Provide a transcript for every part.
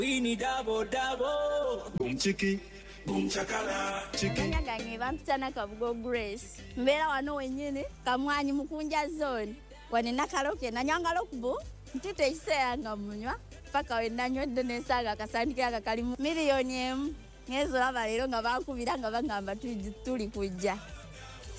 Wini double double. Boom chiki, boom chakala, chiki. Amanya gange bampita Nakabugo Grace. Mbeera wano wennyini Kamwanyi Mukunja Zone. Wano Nakaloke nanywanga Rockboom, ntita ekiseera nga munywa paka we nanywedde nensanga akasandikira nga kalimu 1 million. Ngenze olaba leero nga bankubira nga bagamba tuli kujja.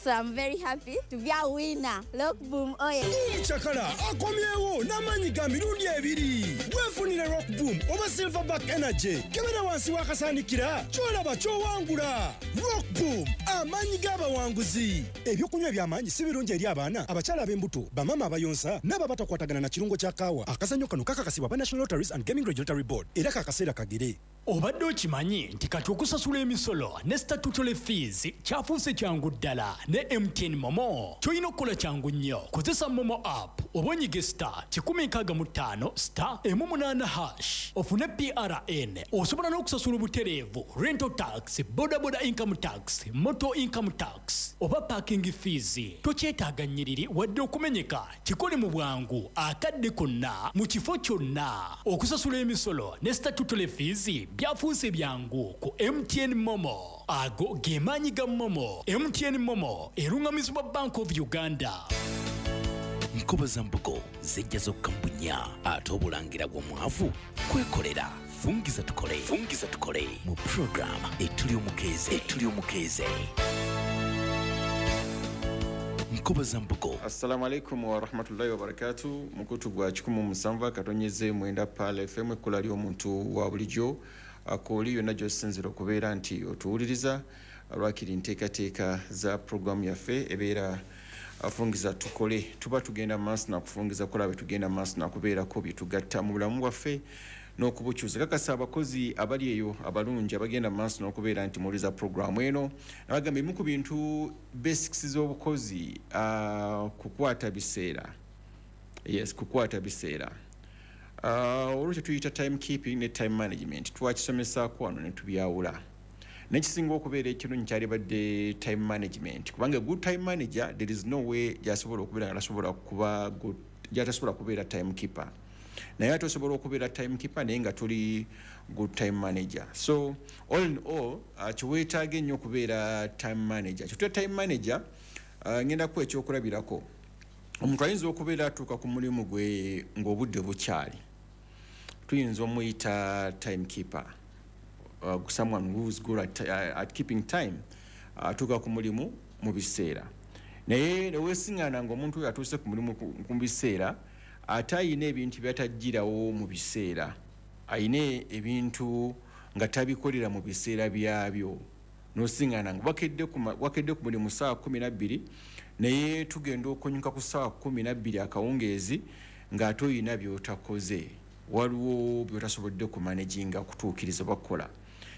So I'm very happy to be a winner. Rockboom oye. Chakala akomyewo n'amaanyi ga mirundi ebiri. Weefunire Rock Boom oba Silverback Energy. Kebera wansi w'akasandikira ky'olaba ky'owangula. Rock Boom, amaanyi g'abawanguzi. Ebyokunywa eby'amaanyi si birungi eri abaana, abakyala ab'embuto, bamaama abayonsa n'abo abatakwatagana na kirungo kya kaawa. Akazannyo kano kakakasibwa aba National Lotteries and Gaming Regulatory Board era kakaseera kagere. Obadde okimanyi nti kati okusasula emisolo ne statutory fees kyafuuse kyangu ddala ne MTN MoMo? Kyolina okukola kyangu nnyo. Kozesa MoMo app oba onyige *165*18# ofune PRN. Osobola n'okusasula obutereevu rental tax, bodaboda income tax, motor income tax oba parking fees. Tokyetaaga nnyiriri wadde okumenyeka. Kikole mu bwangu, akadde konna, mu kifo kyonna. Okusasula emisolo ne statutory fees byafuuse byangu ku MTN MoMo. Ago ge maanyi ga MoMo. MTN MoMo eruŋŋamizibwa Bank of Uganda. Nkoba za mbugo zijja zokka mu bunnya, ate obulangira bw'omwavu kwekolera. Fungiza tukole, fungiza tukole mu puroguramu Etuli Omukeeze, Etuli Omukeeze. Nkoba za mbugo. Assalamu alaikum warahmatullahi wabarakatu. Mukutu gwa 107.9 Pearl FM, ekkula ly'omuntu wa bulijjo. Akooli yonna gy'osinzira okubeera nti otuwuliriza, lwakiri nteekateeka za puroguramu yaffe ebeera Afungiza Tukole. Tuba tugenda maaso nakufungiza kukola bwe tugenda maaso nakubeerako bye tugatta mu bulamu bwaffe n'okubukyusa. Kakasa abakozi abali eyo abalungi abagenda mu maaso n'okubeera nti muwuliza puroguramu eno, nabagamba ebimu ku bintu basics z'obukozi, kukwata biseera. Yes, kukwata biseera. Olwo kyetuyita time keeping ne time management twakisomesaako wano ne tubyawula. Nekisinga okubeera ekirungi kyalibadde time management, kubanga good time manager, there is no way gyasobola okubeera nga tasobola kuba good, gyatasobola kubeera time keeper. Naye ate osobola okubeera time keeper naye nga toli good time manager. So all in all, kiweetaaga ennyo okubeera time manager. Kyetuyita time manager, ngenda kuwa ekyokulabirako. Omuntu ayinza okubeera atuuka ku mulimu gwe ng'obudde bukyali, tuyinza omuyita time keeper, someone who's good at keeping time, atuuka ku mulimu mu biseera. Naye neweesiŋŋaana ng'omuntu oyo atuuse ku mulimu ku biseera, ate ayina ebintu byatajjirawo mu biseera, ayina ebintu nga tabikolera mu biseera byabyo. Nosiŋŋaana nga wakedde ku mulimu 12:00, naye tugenda okunyuka ku 12:00 akawungeezi ng'ate oyina by'otakoze, waliwo by'otasobodde kumanaginga kutuukiriza oba kukola.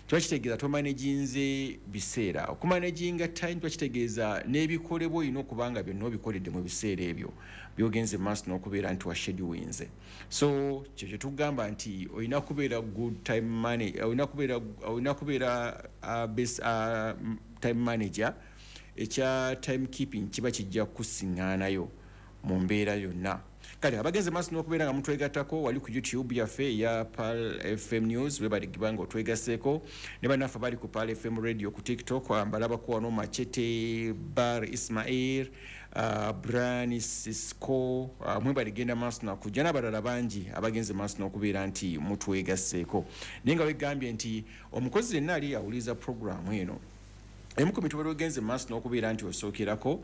Kiba kitegeeza tomanaginze biseera. Okumanaginga time kiba kitegeeza n'ebikolebwa olina okuba nga byonna obikoledde mu biseera ebyo byogenze maaso n'okubeera nti washeduwinze. So kyo kyetugamba nti olina kubeera good time money, olina kubeera best time manager. Ekya time keeping kiba kijja kusiŋŋaanayo mu mbeera yonna. Kale abagenze maaso n'okubeera nga mutwegattako wali ku YouTube yaffe eya Pearl FM News, webaligiba nga otwegasseeko ne bannaffe bali ku Pearl FM Radio ku TikTok. Mbalabako wano Machete Bar Ismail, Brian Cisco, mwebaligenda maaso nakujja n'abalala bangi abagenze maaso n'okubeera nti mutwegasseeko. Naye nga wegambye nti omukozi yenna ali awuliriza puroguramu eno, emu ku mitubero ogenze maaso n'okubeera nti osookerako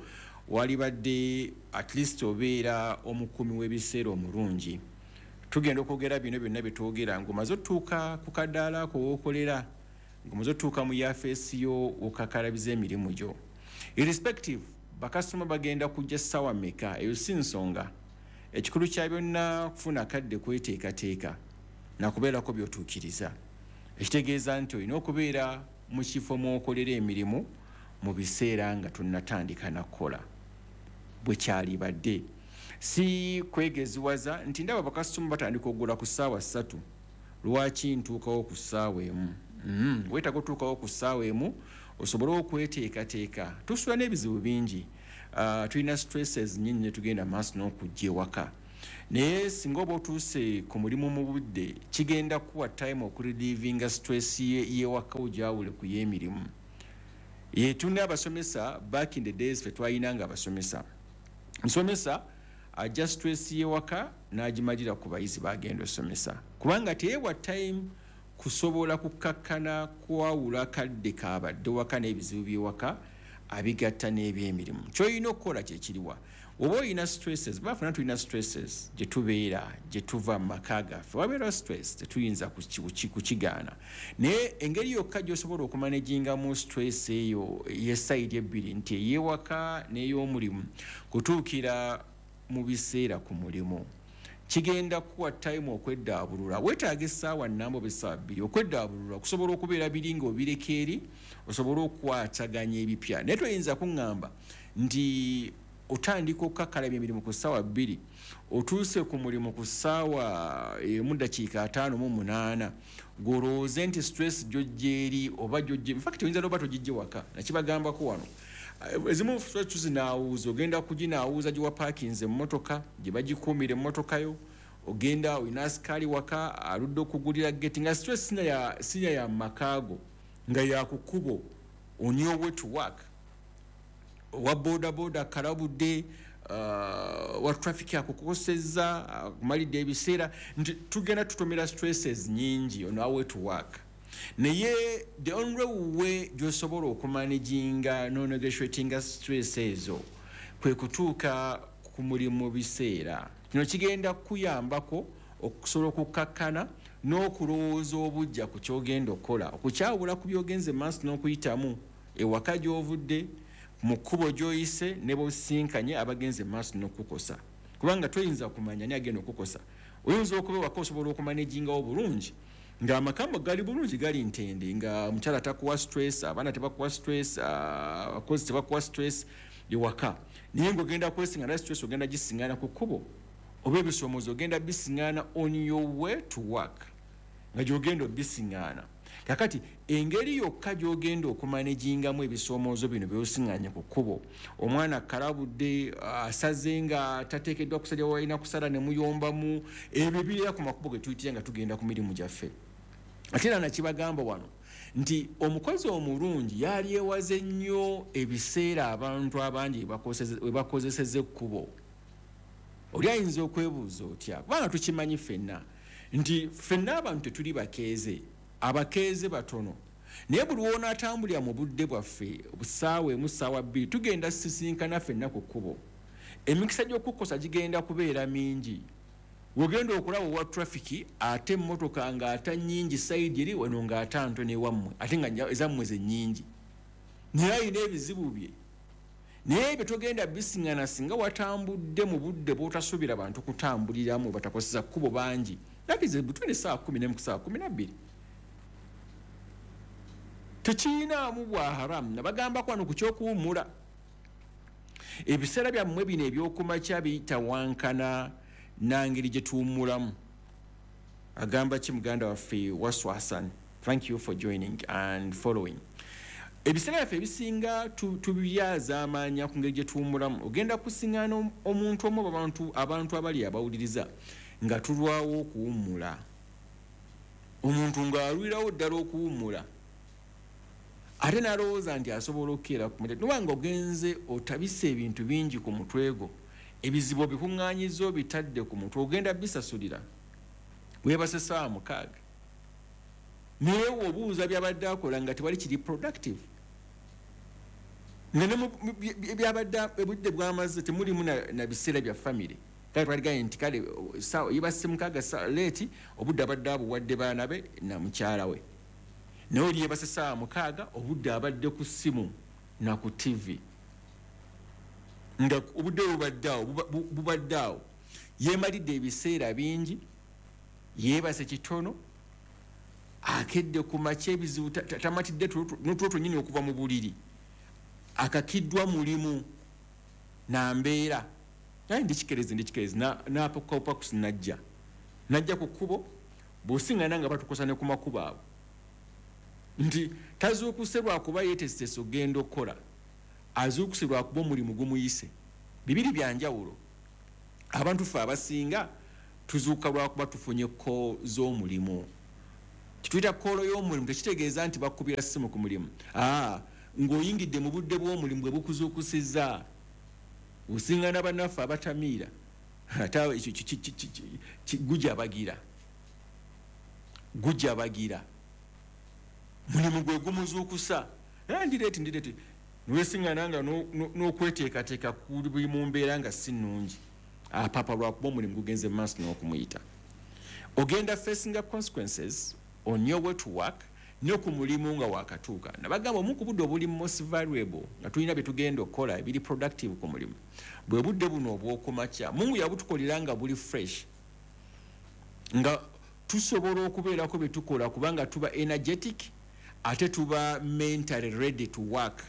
walibadde at least obeera omukuumi w'ebiseera omulungi. Tugenda okwogera bino byonna byetwogera ng'omaze otutuuka ku kadaala ako wookolera, ng'omaze otutuuka mu yafeesi yo okakalabiza emirimu gyo. Irrespective bakasitoma bagenda kujja ssaawa mmeka, eyo si nsonga. Ekikulu kya byonna kufuna kadde kweteekateeka nakubeerako by'otuukiriza, ekitegeeza nti olina okubeera mu kifo mw'okolera emirimu mu biseera nga tonnatandika nakukola. Bwe kyalibadde si kwegeziwaza nti ndaba bakasitoma batandika okugula ku 3:00, lwaki ntuukawo ku 1:00? Weetaaga otuukawo ku 1:00 osobole okweteekateeka. Tusula n'ebizibu bingi, tulina stresses nyingi ne tugenda maaso n'okujja ewaka. Naye singa oba otuuse ku mulimu mu budde, kigenda kuwa time okurelievinga stress yewaka, ogyawule ku y'emirimu. Yetunda abasomesa, back in the days fe twayinanga abasomesa, nsomesa ajja stress yewaka n'agimalira ku bayizi bagenda osomesa, kubanga teyewa time kusobola kukakkana kwawula kadde kabadde waka n'ebizibu byewaka abigatta n'ebyemirimu. Kyolina okukola kyekiriwa? Oba olina stresses, bafuna tulina stresses gye tubeera, gye tuva mu maka gaffe, wabeera stress, tetuyinza kukigaana. Naye engeri yokka gy'osobola okumanagingamu stress eyo ye side ebbiri, nti ey'ewaka n'ey'omulimu, kutuukira mu biseera ku mulimu, kigenda kuwa time okweddaabulula. Weetaaga essaawa nnamba oba essaawa 2 okweddaabulula, okusobola okubeera biri nga obireka eri, osobole okukwataganya ebipya. Naye toyinza kuŋŋamba nti otandika okukakkalabya emirimu ku ssaawa 2, otuuse ku mulimu ku ssaawa 1:58, gw'olowooze nti stress gy'ojja eri oba gy'ojja. Infact, oyinza noba togijje waka. Nakibagambako wano, ezimu stress tuzinaawuuza, ogenda kuginaawuuza gye wapaakinze emmotoka, gye bagikuumira emmotoka yo, ogenda olina asikaali waka aludde okugulira geti, nga stress sinya ya makaago, nga yakukubo on your way to work, owa boda boda kalabudde, wa traffic akukosezza, akumalidde ebiseera, nti tugenda tutomera stresses nyingi on our way to work. Naye the only way gy'osobola okumanaginga nonegotiatinga stress ezo kwe kutuuka ku mulimu biseera. Kino kigenda kukuyambako okusobola okukakkana n'okulowooza obujja ku kyogenda okukola, okukyawula ku byogenze maaso n'okuyitamu ewaka gy'ovudde, mu kkubo gy'oyise, ne bosinkanye abagenze maaso n'okukosa, kubanga toyinza kumanya ani agenda okukosa. Oyinza okuba ewaka osobola okumanagingawo bulungi, ng'amaka gali bulungi, gali ntende, nga omukyala takuwa stress, abaana tebakuwa stress, abakozi tebakuwa stress ewaka, naye ng'ogenda kwesiŋŋana stress, ogenda gisiŋŋana ku kkubo, oba ebisomoozo ogenda bisiŋŋana on your way to work, nga gy'ogenda obisiŋŋana. Kakati engeri yokka gy'ogenda okumanagingamu ebisoomoozo bino byosiŋŋanye ku kkubo, omwana kalabudde, asaze nga tateekeddwa kusalya walina kusala, ne muyombamu, ebyo bibeera ku makubo ge tuyitira nga tugenda ku mirimu gyaffe. Ate era nakibagamba wano nti omukozi omulungi yalyewaze nnyo ebiseera abantu abangi we bakozeseza ekkubo. Oli ayinza okwebuuza otya, kubanga tukimanyi ffenna nti ffenna abantu tetuli bakeeze, abakeeze batono, naye buli wonaatambulira mu budde bwaffe, ssaawa 1, ssaawa 2, tugenda sisinkana ffenna ku kkubo. Emikisa gy'okukosa gigenda kubeera mingi. Wogenda okulaba owa trafiki, ate emmotoka ng'ata nnyingi side eri wano, ng'ata ntono ewammwe, ate nga ezammwe ze nnyingi, naye alina ebizibu bye. Naye ebyo togenda bisiŋŋana singa watambudde mu budde bw'otasuubira bantu kutambuliramu, batakoseza kkubo bangi, that is between essaawa 11 ku ssaawa 12. Tekirinaamu bwa haramu. Nabagambako wano ku kyokuwummula, ebiseera byammwe bino ebyokumakya biyitawankana nangeri gye tuwummulamu. Agamba ki muganda waffe Waswasan? Thank you for joining and following. Ebiseera byaffe ebisinga tubyazaamaanya ku ngeri gye tuwummulamu. Ogenda kusiŋŋaana omuntu omu, abantu abali abawuliriza nga tulwawo okuwummula, omuntu ng'alwirawo ddala okuwummula, ate n'alowooza nti asobola okukeera ku mutwe, nobanga ogenze otabise ebintu bingi ku mutwe gwo, ebizibu obikuŋŋaanyiza obitadde ku mutwe, ogenda bisasulira. Weebase ssaawa 6, naye obuuza byabadde akola nga tewali kiri productive, nga ne byabadde obudde bwamaze temulimu na biseera bya famire. Kale twaligaye nti kale yebase 6 late, obudde abadde abuwadde baana be na mukyala we, naye oli yebase ssaawa 6, obudde abadde ku ssimu na ku TV, nga obudde bubadde awo, yeemalidde ebiseera bingi, yeebase kitono, akedde ku makya ebizibu, tamatidde n'otulo twennyini okuva mu buliri, akakiddwa mulimu na mbeera. Naye ndikikerezi n'apakupakusi najja ku kkubo, bw'osiŋŋana nga batukosa ne ku makubo abo, nti tazuukuse lwakuba yeetesitese okugenda okukola, azuukuse lwakuba omulimu gumuyise. Bibiri bya njawulo. Abantu ffe abasinga tuzuuka lwakuba tufunye call z'omulimu. Kituyita call y'omulimu tekitegeeza nti bakubira ssimu ku mulimu. Ng'oyingidde mu budde bw'omulimu bwe bukuzuukusizza. Osingana bannaffe abatamiira, ate ekyo gujabagira, gujabagira mulimu gwe gumuzuukusa. Ndi late niwesingana nga n'okweteekateeka kuli mu mbeera nga si nnungi. Apapa lwakuba omulimu gugenze mu maaso n'okumuyita. Ogenda facinga consequences on your way to work ne ku mulimu nga wakatuuka. Nabagamba omu ku budde obuli most valuable nga tulina bye tugenda okukola ebiri productive ku mulimu bwe budde buno obw'okumakya. Mungu yabutukolera nga buli fresh, nga tusobola okubeerako bye tukola kubanga tuba energetic ate tuba mentally ready to work.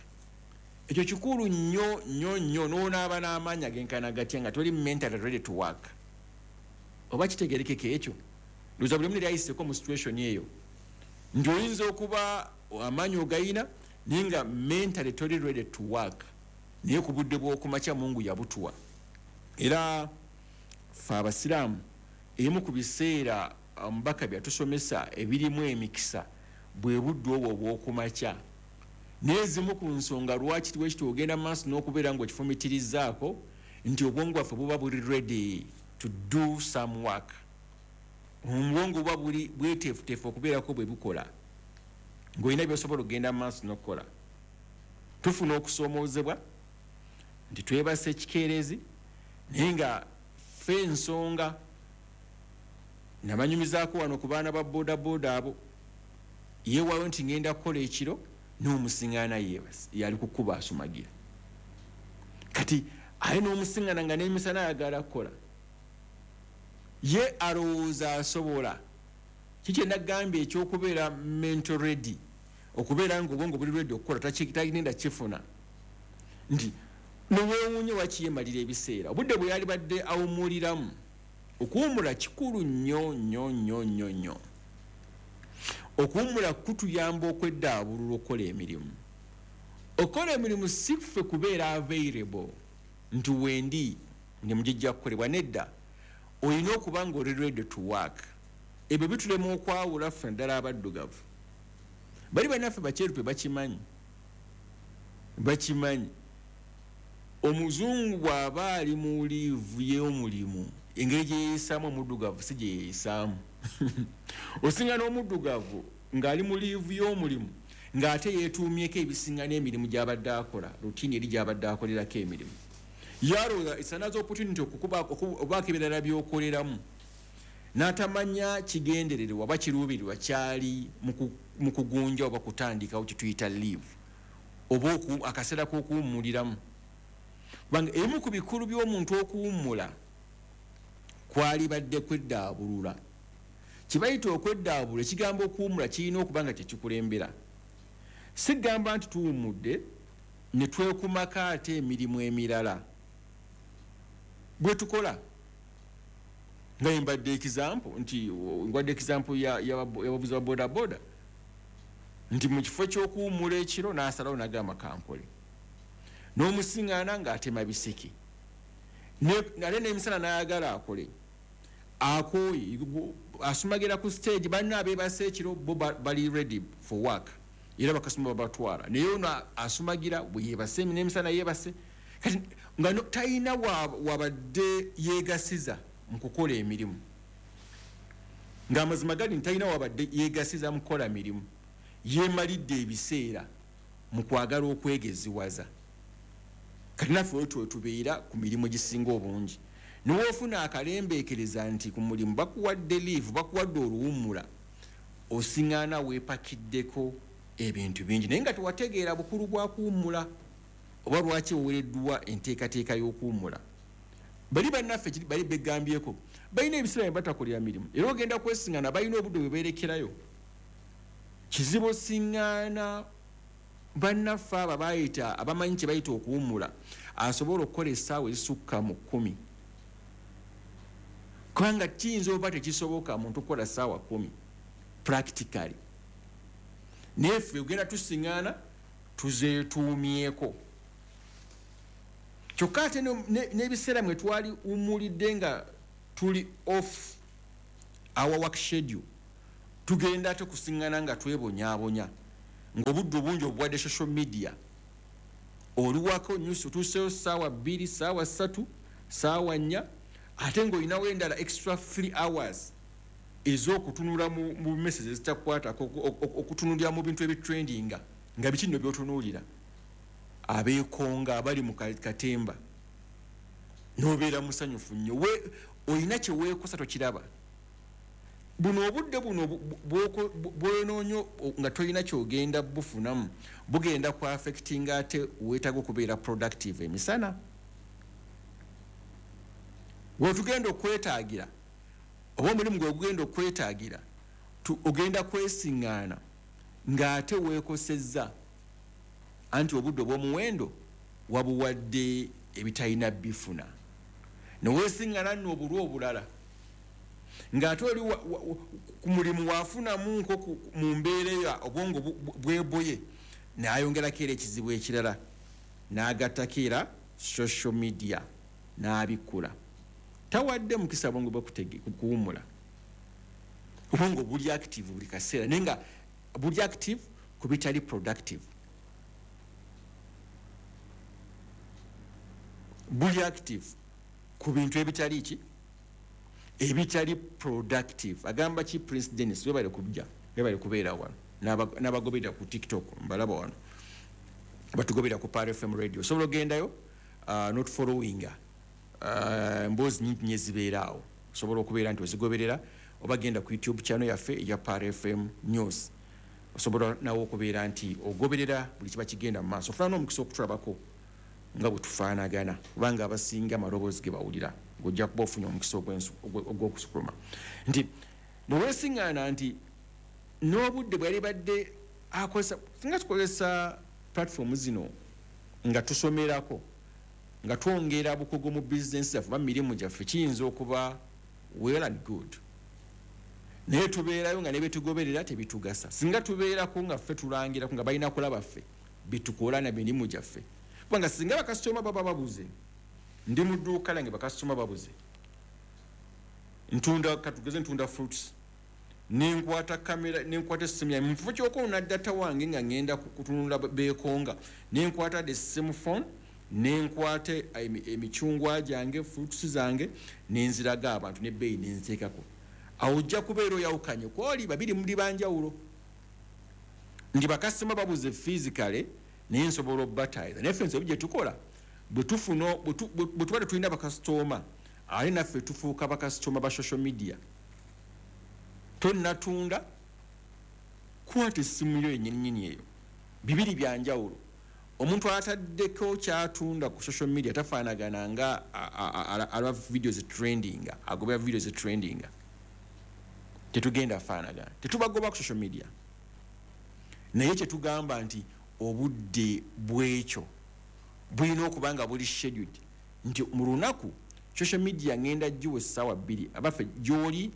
Ekyo kikulu nnyo nnyo nnyo. N'onaaba n'amaanyi agenkana gatya nga toli mentally ready to work? Oba kitegerekeka ekyo? Ndowooza buli omu yali ayiseeko mu situation eyo, nti oyinza okuba amaanyi ogayina naye nga mentally toli ready to work. Naye ku budde bw'okumakya Mungu yabutuwa. Era ffe abasiraamu, emu ku biseera omubaka byatusomesa ebirimu emikisa bwe budde obwo obw'okumakya. Naye ezimu ku nsonga lwaki wekiti ogenda mu maaso n'okubeera ng'okifumitirizaako nti obwongo bwaffe buba buli ready to do some work. Obwongo buba buli bweteefuteefu okubeerako bwe bukola, ng'olina by'osobola okugenda mu maaso n'okukola. Tufuna okusoomoozebwa nti twebase ekikeerezi, naye nga ffe ensonga nabanyumizaako wano ku baana ba boodabooda abo, yeewaayo nti ngenda kukola ekiro, n'omusiŋŋaana yeebase, yali kukuba asumagira. Kati aye n'omusiŋŋaana nga n'emisana ayagala kukola, ye alowooza asobola. Kiki nagambye ekyokubeera mental ready, okubeera nga obwongo buli ready okukola, tagenda kifuna nti neweewuunye wakiyemalira ebiseera obudde bwe yali badde awummuliramu. Okuwummula kikulu nnyo nnyo nnyo nnyo nnyo. Okuwummula kutuyamba okweddaabulula okukola emirimu. Okukola emirimu si ffe kubeera available nti wendi emirimu gijja kukolebwa, nedda. Olina okuba nga oli ready to work. Ebyo bitulema okwawula ffe naddala abaddugavu. Bali bannaffe bakyerupe bakimanyi, bakimanyi. Omuzungu bw'aba ali mu leave y'omulimu, engeri gye yeeyisaamu omuddugavu si gye yeeyisaamu. Osinga n'omuddugavu ng'ali mu leave y'omulimu ng'ate yeetuumyeko ebisinga n'emirimu gy'abadde akola, routine eri gy'abadde akolerako emirimu. Yalowooza it's another opportunity okubaako ebirala by'okoleramu, n'atamanya kigendererwa oba kiruubirirwa kyali mu kugunja oba kutandikawo kye tuyita leave oba akaseera k'okuwummuliramu. Kubanga ebimu ku bikulu by'omuntu okuwummula kwali badde kweddaabulula. Kye bayita okweddaabulula, ekigambo okuwummula kirina okuba nga kyekikulembera. Sigamba nti tuwummudde ne twekumako ate emirimu emirala bwe tukola, nga mbadde example nti ngwadde example y'abavuzi ba bodaboda nti mu kifo ky'okuwummula ekiro n'asalawo n'agamba kankole, n'omusiŋŋaana ng'atema biseke, ate n'emisana n'ayagala akole, akooye, asumagira ku stage. Banna abeebase ekiro bo bali ready for work era bakasoma babatwala, naye ono asumagira bwe yeebase n'emisana yeebase. Kati nga talina wabadde yeegasiza mu kukola emirimu, ng'amazima gali nti talina wabadde yeegasiza mu kukola mirimu, yeemalidde ebiseera mu kwagala okwegeziwaza. Kati naffe wetwe tubeera ku mirimu egisinga obungi, niwoofuna akalembeekereza nti ku mulimu bakuwadde leave, bakuwadde oluwummula, osiŋŋaana weepakiddeko ebintu bingi, naye nga tewategeera bukulu bwa kuwummula oba lwaki owereddwa enteekateeka y'okuwummula. Bali bannaffe bali begambyeko balina ebiseera bye batakolera mirimu, era ogenda kwesiŋŋaana balina obudde bwe beerekerayo. Kizibu osiŋŋaana bannaffe abo abayita abamanyi kye bayita okuwummula asobola okukola essaawa ezisukka mu 10, kubanga kiyinza oba tekisoboka muntu kukola ssaawa 10 practically. Naye ffe ogenda tusiŋŋaana tuzeetuumyeko. Kyokka ate n'ebiseera mwe twali wumulidde nga tuli off our work schedule, tugenda ate kusiŋŋana nga twebonyaabonya, ng'obudde obungi obuwadde social media. Oliwako news, otuuseyo 2:00, 3:00, 4:00, ate ng'olinawo endala extra 3 hours ez'okutunula mu messages ezitakukwatako, okutunulira mu bintu ebitrendinga. Nga biki nno by'otunuulira? Abeekonga abali mu katemba, n'obeera musanyufu nnyo. Olina kye weekosa tokiraba. Buno obudde buno bwonoonya nga tolina ky'ogenda bufunamu, bugenda ku affectinga ate weetaaga okubeera productive emisana. Wetugenda okwetaagira oba omulimu gwe gugenda okwetaagira, ogenda kwesiŋŋaana ng'ate weekosezza, anti obudde obw'omuwendo wabuwadde ebitalina bifuna. Ne weesiŋŋaana nno obulwa obulala ng'ate oli ku mulimu waafunamu nko mu mbeera eyo obwongo bweboye, n'ayongerako era ekizibu ekirala, n'agattako era social media n'abikkula. Tawadde mukisa bwongo bwe kuwummula. Obwongo buli active buli kaseera, naye nga buli active ku bitali productive. Buli active ku bintu ebitali ki? Ebitali productive. Agamba ki Prince Dennis, webale kujja, webale kubeera wano. N'abagoberera ku TikTok, mbalaba wano. Batugoberera ku Pearl FM Radio. Osobola ogendayo, not following, emboozi nnyingi nnyo ezibeera awo. Osobola okubeera nti ozigoberera, oba genda ku YouTube channel yaffe eya Pearl FM News. Osobola nawe okubeera nti ogoberera buli kiba kigenda mu maaso. Ofuna n'omukisa okutulabako nga bwe tufaanagana, kubanga abasinga amaloboozi ge bawulira, ng'ojja kuba ofunye omukisa ogw'okusukuluma. Nti ne weesiŋŋaana nti n'obudde bwe yalibadde akozesa, singa tukozesa platform zino nga tusomerako, nga twongera bukugu mu bizinensi zaffe oba mu mirimu gyaffe, kiyinza okuba well and good. Naye tubeerayo nga ne byetugoberera tebitugasa. Singa tubeerako nga ffe tulangirako nga balina kulaba ffe byetukola na mirimu gyaffe. Kubanga singa bakasitoma baba babuze, ndi mu dduuka lyange bakasitoma babuze, ntunda, katugeze ntunda fruits, nenkwata kamera, nenkwata essimu yange, mu kifo ky'okwonona data wange nga ngenda kutunula beekonga, nenkwata the same phone, nenkwata emicungwa gyange, fruits zange, nenziraga abantu n'ebbeeyi nenziteekako. Awo ojja kubeera oyawukanye kwoli babiri muli banjawulo. Ndi bakasitoma babuze physically, naye nsobola obbatayiza. Naye ffe ensobi gye tukola, bwe tuba tetulina bakasitoma, ate naffe tufuuka bakasitoma ba social media. Tonnatunda, kwata essimu yo yennyini eyo. Bibiri bya njawulo. Omuntu ataddeko ky'atunda ku social media tafaanagana nga alaba videos trending, agobera videos trending. Tetugenda faanagana, tetubagoba ku social media. Naye kye tugamba nti obudde bw'ekyo bulina okuba nga buli scheduled, nti mu lunaku social media ngenda giwa 2:00, abaffe gy'oli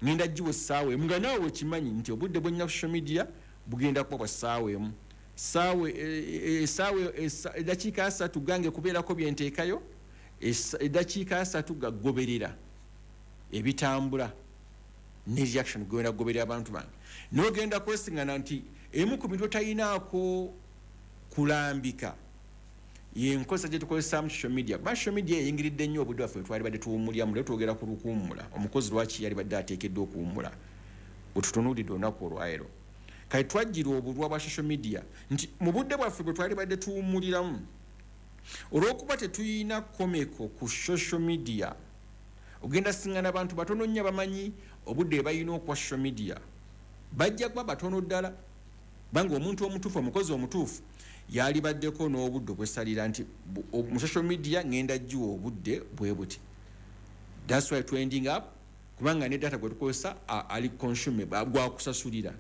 ngenda giwa 1:00, nga naawe okimanyi nti obudde bwe nnyina ku social media bugenda kuba bwa 1:00. 3:30 gange kubeerako bye nteekayo, 3:30 gagoberera ebitambula ne reaction genda kugoberera abantu bange. N'ogenda kwesiŋŋana nti emu ku bintu otayinaako kulambika y'enkozesa gye tukozesaamu social media. Kuba social media eyingiridde nnyo obudde bwaffe twali badde tuwummuliramu, leero twogera ku lukuwummula. Omukozi lwaki yali badde ateekeddwa okuwummula? Bwe tutunuulidde olunaku olwaleero. Kale twajjira obulwa bwa social media nti mu budde bwaffe bwe twali badde tuwummuliramu, olw'okuba tetulina komeko ku social media, ogenda siŋŋana abantu batono nnyo abamanyi obudde bwe balina okuwa social media. Bajja kuba batono ddala, kubanga omuntu omutuufu, omukozi omutuufu yalibaddeko n'obudde obwesalira nti mu social media ngenda giwa obudde bwe buti. That's why trending up, kubanga ne data gwe tukozesa ali consumable, gwakusasulira.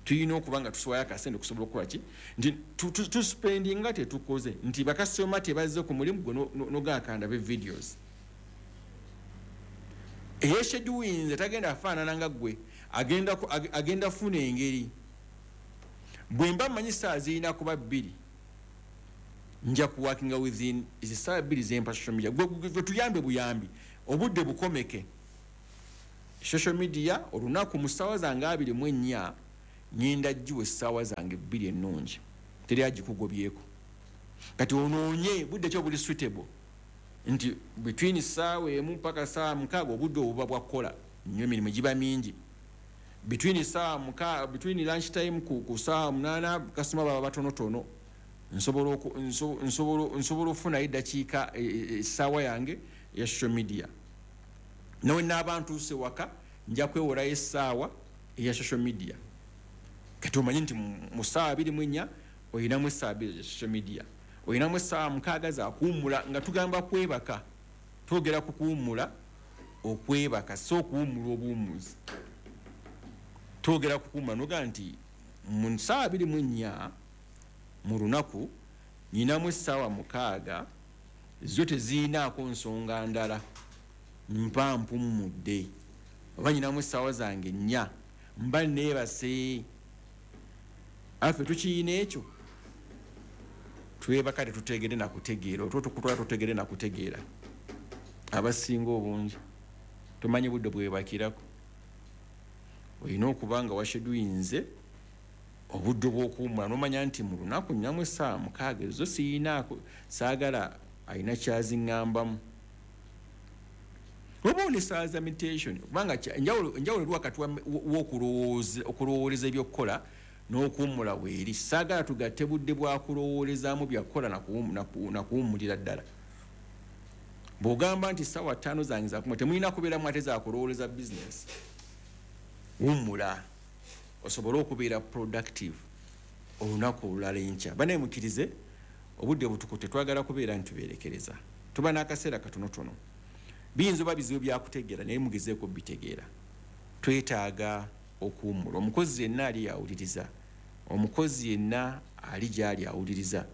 Tulina okuba nga tusobola akasente okusobola okukola ki? Nti tuspendinga tetukoze, nti bakasitoma tebazze ku mulimu gwe n'ogakanda be videos. Eyeschedulinze tagenda afaanana nga ggwe, agenda funa engeri. Bwe mba mmanyi ssaawa zirina kuba 2, Nja kuworkinga within essaawa 2 zempa social media. Gwe tuyambe buyambi, obudde bukomeke. Social media olunaku mu ssaawa zange 24 ngenda giwa essaawa zange 2 ennungi, teri agikugobyeko. Kati onoonye budde ki obuli suitable, nti between ssaawa 1 mpaka ssaawa 6 obudde obuba bwakukola nnyo, emirimu giba mingi. Between ssaawa 6, between lunch time ku ssaawa 8 kasitoma baba batonotono, nsobola okufunayo eddakiika essaawa yange eya social media. Nawe naaba ntuuse waka nja kwewolayo essaawa eya social media. Kati omanyi nti mu ssaawa 24 oyinamu essaawa 2 za social media, oyinamu essaawa 6 za kuwummula. Nga tugamba kwebaka, twogera ku kuwummula okwebaka, si okuwummula obuwummuzi. Twogera ku kuwummula noga nti mu ssaawa 24 mu lunaku nyinamu essaawa 6, zo teziyinaako nsonga ndala, mpa mpummudde. Oba nyinamu essaawa zange 4 mba neebase. Affe tukiyina ekyo, twebaka tetutegere nakutegeera, otwo tukutwala tutegere nakutegeera. Abasinga obungi tomanyi budde bwebakirako. Olina okuba nga washeduinze obudde bw'okuwummula, n'omanya nti mu lunaku nnyinamu essaawa 6 ezo siyinaako, saagala alina kyaziŋŋambamu. Oba one essaawa za meditation, kubanga enjawulo eri wakati w'okulowooleza ebyokukola n'okuwummula weeri. Saagala tugatte budde bwa kulowoolezaamu byakukola nakuwummulira ddala. Bw'ogamba nti ssaawa 5 zange zakuwummula, temulina kubeeramu ate zakulowooleza bizinesi. Wummula osobole okubeera productive olunaku olulala enkya. Banaye mukkirize, obudde butukutte, twagala kubeera nti tubeerekereza, tuba n'akaseera katonotono. Biyinza oba bizibu byakutegeera, naye mugezeeko bitegeera. Twetaaga okuwummula. Omukozi yenna ali awuliriza, omukozi yenna ali gy'ali awuliriza,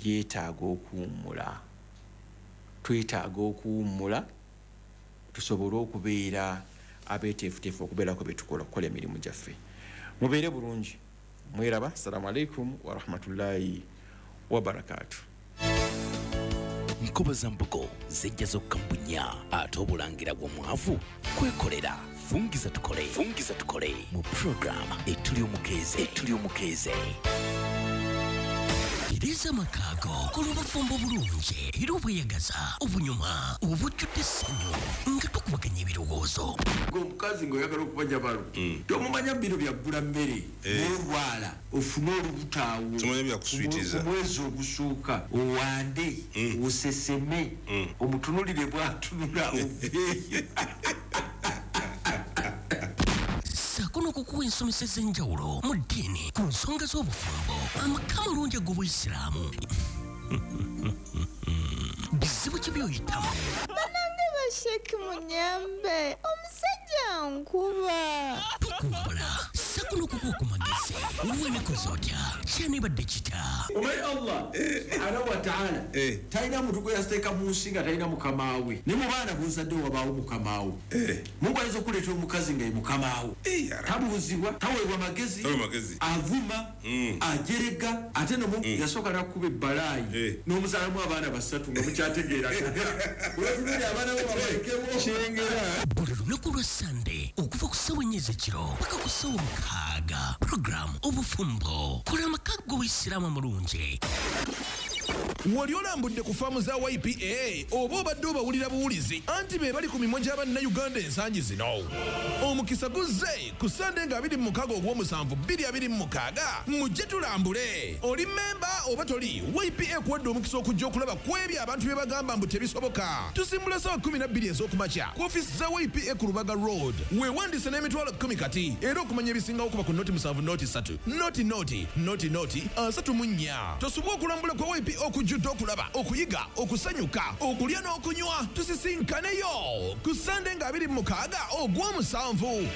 yeetaaga okuwummula. Twetaaga okuwummula tusobole okubeera abeeteefuteefu okubeerako bye tukola, okukola emirimu gyaffe. Mubeere bulungi, mweraba. Assalamu alaikum warahmatullahi wabarakatuh. Nkoba za mbugo zijja zokka mu bunnya, ate obulangira bw'omwavu kwekolera. Fungiza tukole, fungiza tukole mu program etuli omukeeze, etuli omukeeze. Tereza amaka go, kola obufumbo obulungi era obweyagaza, obunyuma, obujjudde essanyu nga tukubaganya ebirowoozo. Omukazi ng'oyagala okumanya balo, tomumanya bino byaggula mmere, n'olwala ofune olubuto awo omwezi ogusooka, owande, oseseme, omutunulire bw'atunula oveeyo. Ssaako n'okukuwa ensomesa ez'enjawulo mu ddiini ku nsonga z'obufumbo, amaka amalungi ag'Obuyisiraamu. Bizibu ki by'oyitamu? Bannange basheki munyambe, omusajja nkuba. Tukuwabula ssaako n'okukuwa ku magezi. Weekoze otya? Kyanibadde kitya? Omanyi Allah subhanahu wa ta'ala talina muntu gwe yateeka mu nsi nga talina mukama we. Ne mu baana b'ozadde wabaawo mukama wo. Mungu ayinza okuleetera omukazi nga ye mukama wo, tabuuzibwa, taweebwa magezi, avuma, ajerega, ate nomu yasooka n'akuba ebbalaayi n'omuzaalamu abaana 3 nga mukyategeera. Olwatunulira abaana bo babalekewo. Kyengera. Buli lunaku lwa Sande okuva ku ssaawa 4 ez'ekiro paka ku ssaawa 6, puroguramu Obufumbo, kola amaka g'Obuyisiraamu amalungi. Wali olambudde ku faamu za YPA oba obadde obawulira buwulizi anti be bali ku mimwa gy'abannayuganda ensangi zino? Omukisa guzze ku Sande nga 26 ogw'omusanvu 2026, mujje tulambule. Oli memba oba toli, YPA kuwadde omukisa okujja okulaba ku ebyo abantu bye bagamba mbu tebisoboka. Tusimbula ssaawa 12 ez'okumakya ku ofiisi za YPA ku Lubaga Road. Weewandiise n'emitwalo 10 kati, era okumanya ebisingawo kuba ku 07 03 00 00 34. Tosubwa okulambula kwa YPA okujjudde okulaba, okuyiga, okusanyuka, okulya n'okunywa. Tusisinkaneyo ku Sande nga 26 ogw'omusanvu.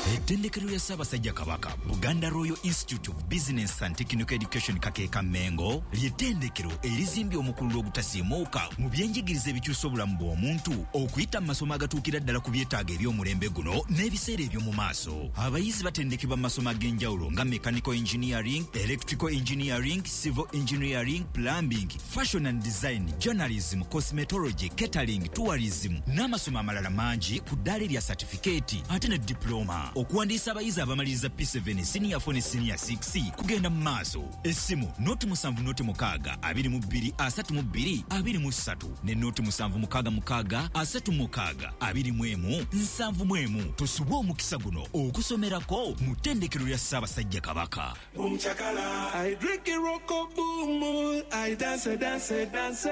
Ettendekero lya Ssaabasajja Kabaka, Buganda Royal Institute of Business and Technical Education Kakeeka Mmengo, ly'ettendekero erizimbye omukululo ogutasiimuuka mu byenjigiriza ebikyusa obulamu bw'omuntu okuyita mu masomo agatuukira ddala ku byetaago eby'omulembe guno n'ebiseera eby'omu maaso. Abayizi batendekebwa mu masomo ag'enjawulo nga mechanical engineering, electrical engineering, civil engineering, plumbing, fashion and design, journalism, cosmetology, catering, tourism n'amasomo amalala mangi ku ddaala erya satifikeeti ate ne diploma. Okuwandiisa abayizi abamaliriza P7, senior 4 ne senior 6 kugenda mu maaso. Essimu 076 22 32 23 ne 0766 36 21 71. Tosubwa omukisa guno okusomerako mu ttendekero lya Ssaabasajja Kabaka. Boom chakala, I drink it roko boom, I dance dance dance.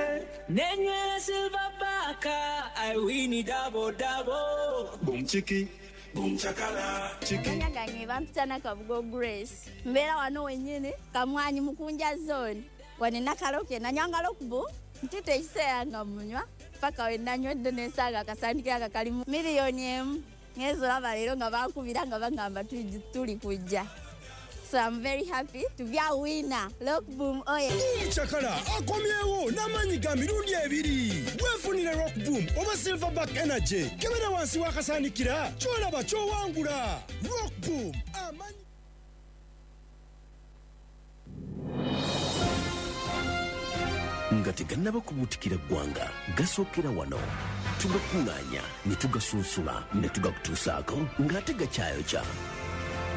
Nenywera silver baka, I win it double double. Boom chiki. Boom chakala chiki. Amanya gange bampita Nakabugo Grace. Mbeera wano wennyini Kamwanyi Mukunja zone. Wano Nakaloke nanywanga Rockboom ntute ekiseera nga munywa paka we nanywedde nensanga akasandikira nga kalimu 1 million. Ngenze olaba leero nga bankubira nga bagamba tuli kujja. So I'm very happy to be a winner. Rockboom oye. Boom Chakala akomyewo n'amaanyi ga mirundi ebiri. Weefunire Rock Boom oba Silverback Energy. Kebera wansi w'akasaanikira ky'olaba ky'owangula. Rock Boom amaanyi. Nga tegannaba kubuutikira ggwanga, gasookera wano, tugakuŋŋaanya ne tugasunsula ne tugakutuusaako ng'ate gakyayokya.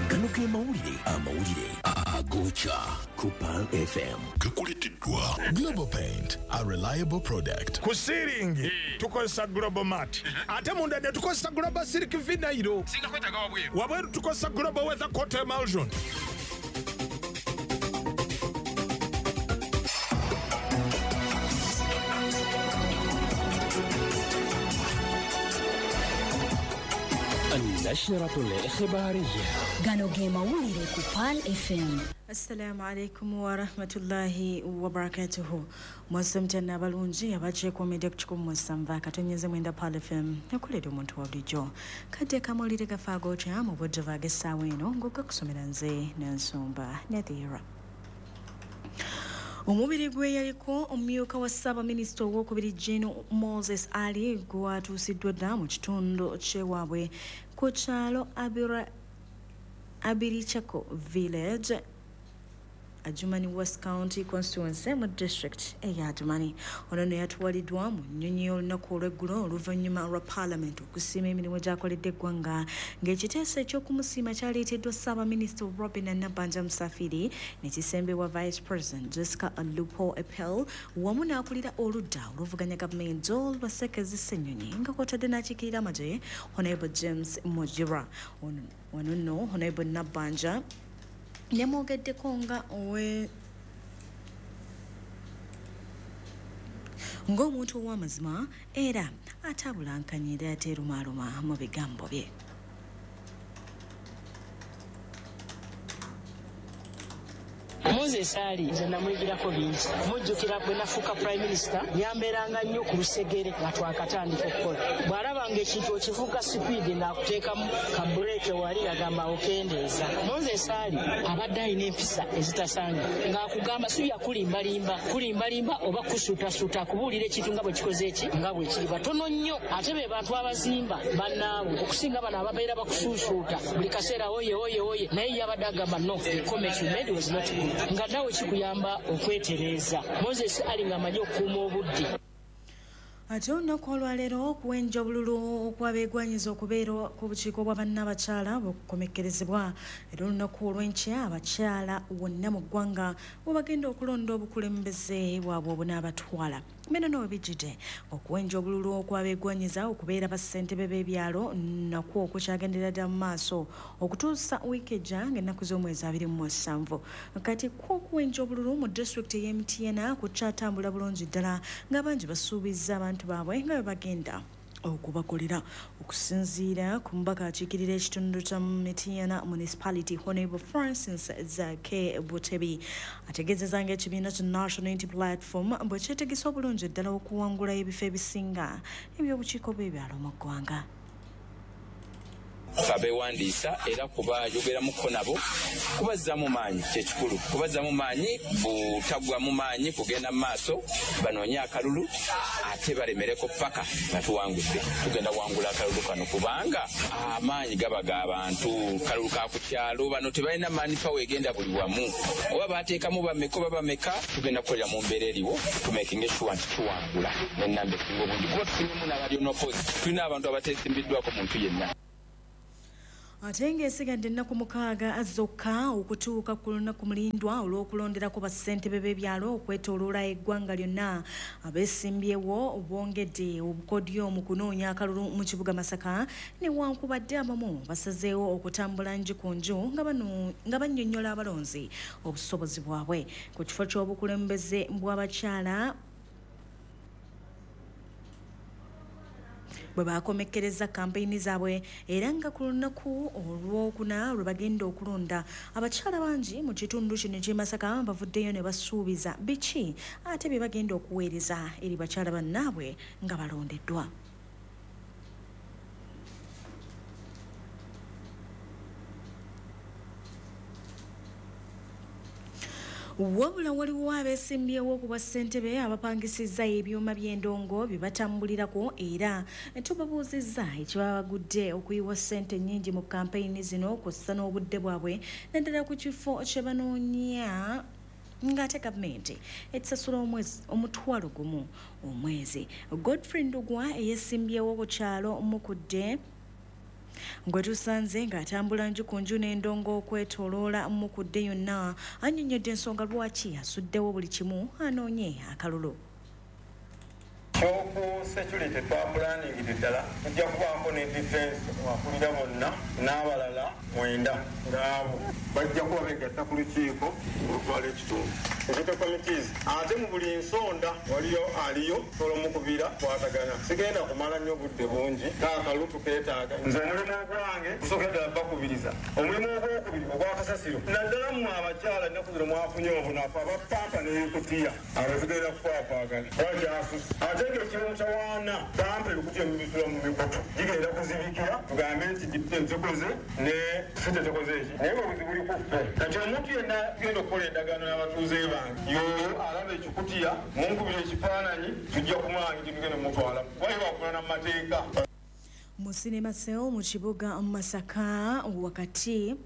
Gano ge mawulire, amawulire agokya ku Pearl FM. Gakuleteddwa Global Paint, a reliable product. Ku ceiling tukozesa Global Mat, ate munda ne tukozesa Global Silk Vinyl. Wabweru tukozesa Global Weather Coat Emulsion. النشرة الإخبارية. Gano ge mawulire ku Pearl FM. Assalamu alaikum warahmatullahi wabarakatuhu. Mwasomtana abalungi abakyekuumidde ku 107.9 Pearl FM ekolera omuntu wa bulijjo. Kadde kamawulire gafa agokya mu budde ag'essaawa eno ng'ogakusomera nze Nansumba Nadhira. Omubiri gwe yaliko omumyuka wa ssaabaminisita owokubiri Gen Moses Ali gwatuusiddwa dda mu kitundu ky'ewaabwe ku kyalo Abirichako Village, Adjumani West County Constituency mu district eya Adjumani. Ono nno yatwaliddwa mu nnyonyi olunaku olw'eggulo oluvannyuma lwa Parliament okusiima emirimu gy'akoledde eggwanga, ng'ekiteeso eky'okumusiima kyaleeteddwa ssaabaminisita Robin Nabbanja Musafiri ne kisembebwa Vice President Jessica Alupo Epel wamu n'akulira oludda oluvuganya gavumenti Joel Basekezi Ssenyonyi nga kw'otadde n'akiikirira amagye Honorable James Mujira. Wano nno Honorable Nabbanja yamwogeddeko nga owe ng'omuntu ow'amazima era atabulankanya era ateerumaaluma mu bigambo bye. Moses Ali nze namuyigirako bingi. Mujjukira bwe nafuuka Prime Minister, yambeeranga nnyo ku lusegere nga twakatandika okukola. Bw'alabanga ekintu okivuga sipiidi ng'akuteekamu ka bureeke wali agamba okendeeza. Moses Ali abadde alina empisa ezitasanga ng'akugamba si bya kulimbalimba, kulimbalimba oba kusuutasuuta, akubuulira ekintu nga bwe kikoze eki nga bwe kiri. Batono nnyo ate be bantu abazimba bannaabwe okusinga bano ababeera bakusuusuuta buli kaseera oye oye oye, naye yabadde agamba no, the comment you made was not good, nga nawe kikuyamba okwetereeza. Moses Ali ng'amanyi okukuuma obudde. Ate olunaku olwaleero okuwenja obululu okwabeegwanyiza okubeera ku bukiiko bwa bannabakyala bukomekkerezebwa, era olunaku olw'enkya abakyala wonna mu ggwanga bwe bagenda okulonda obukulembeze bwabwe obunaabatwala. Bino nno bijjidde okuwenja obululu okwabeegwanyiza okubeera bassentebe b'ebyalo nakwo okukyagendera ddala mu maaso okutuusa wiiki ejja ng'ennaku z'omwezi 27. Kati kwo okuwenja obululu mu disitulikiti ey'e Mityana kukyatambula bulungi ddala ng'abangi basuubizza abantu baabwe nga bwe bagenda okubakolera. Okusinziira ku mubaka akiikirira ekitundu kya Mityana Municipality Honorable Francis Zake Butebi, ategeezezza ng'ekibiina kya National Unity Platform bwe kyetegese obulungi ddala okuwangula ebifo ebisinga eby'obukiiko bw'ebyalo mu ggwanga. Abeewandiisa era kubayogeramuko nabo kubazzaamu maanyi, kyekikulu kubazzaamu maanyi, butaggwamu maanyi kugenda mu maaso, banoonye akalulu ate balemereko paka nga tuwangudde. Tugenda wangula akalulu kano kubanga amaanyi gaba g'abantu, kalulu ka ku kyalo, bano tebalina maanyi pawa egenda buli wamu, oba bateekamu bameka oba bameka, tugenda kukolera mu mbeera eriwo tumakinge sure nti tuwangula n'ennamba esinga obungi, kuba tufunyemu n'abali onopozi, tulina abantu abateesimbiddwako muntu yenna. Ate ng'esigadde ennaku 6 zokka okutuuka ku lunaku mulindwa olw'okulonderako bassentebe b'ebyalo okwetooloola eggwanga lyonna, abeesimbyewo bongedde obukodyo mu kunoonya akalulu mu kibuga Masaka, newankubadde abamu basazeewo okutambula nju ku nju nga bannyonnyola abalonzi obusobozi bwabwe. Ku kifo ky'obukulembeze bw'abakyala bwe bakomekkereza kampeyini zaabwe, era nga ku lunaku olwokuna lwe bagenda okulonda, abakyala bangi mu kitundu kino eky'e Masaka bavuddeyo ne basuubiza biki ate bye bagenda okuweereza eri bakyala bannaabwe nga balondeddwa. Wabula waliwo abeesimbyewo ku bwassentebe abapangisizza ebyuma by'endongo bye batambulirako, era tubabuuzizza ekibabagudde okuyiwa ssente nnyingi mu kampeyini zino kw'ossa n'obudde bwabwe, naddala ku kifo kye banoonya ng'ate gavumenti etusasula $1,000 omwezi. Godfrey Ndugwa eyeesimbyewo ku kyalo Mukudde gwe tusanze ng'atambula nju ku nju n'endongo okwetooloola Mukudde yonna, annyonnyodde ensonga lwaki asuddewo buli kimu anoonye akalulu. Kyoku security twapulaaningidde ddala, tujja kubaako ne defense akulira bonna n'abalala 9 ng'abo bajja kuba beegatta ku lukiiko olutwala ekitundu. Security committees ate mu buli nsonda waliyo aliyo sobola omukubira kwatagana. Sigenda kumala nnyo budde bungi, k'akalulu tukeetaaga. Nze omulimu ogwange gusookera ddala bakubiriza. Omulimu ogwokubiri ogw'akasasiro, naddala mmwe abakyala ennaku zino mwafunye obunafu, abapampa n'ebikutiya, abo tugenda kukwafaagana. Wakyasusse ate ng'ekimu kyawaana pampa ebikutiya mubisula mu mikutu gigenda kuzibikira, tugambe nti zikoze ne sente tekoze eki, naye obuzibu buli ku ffe. Kati omuntu yenna tugenda okukola endagaano n'abatuuze bange, y'oyo alaba ekikutiya munkubira ekifaananyi, tujja kumwanga tugenda mutwala kuba bakulana mu mateeka. Mu Cinema Cell mu kibuga Masaka wakati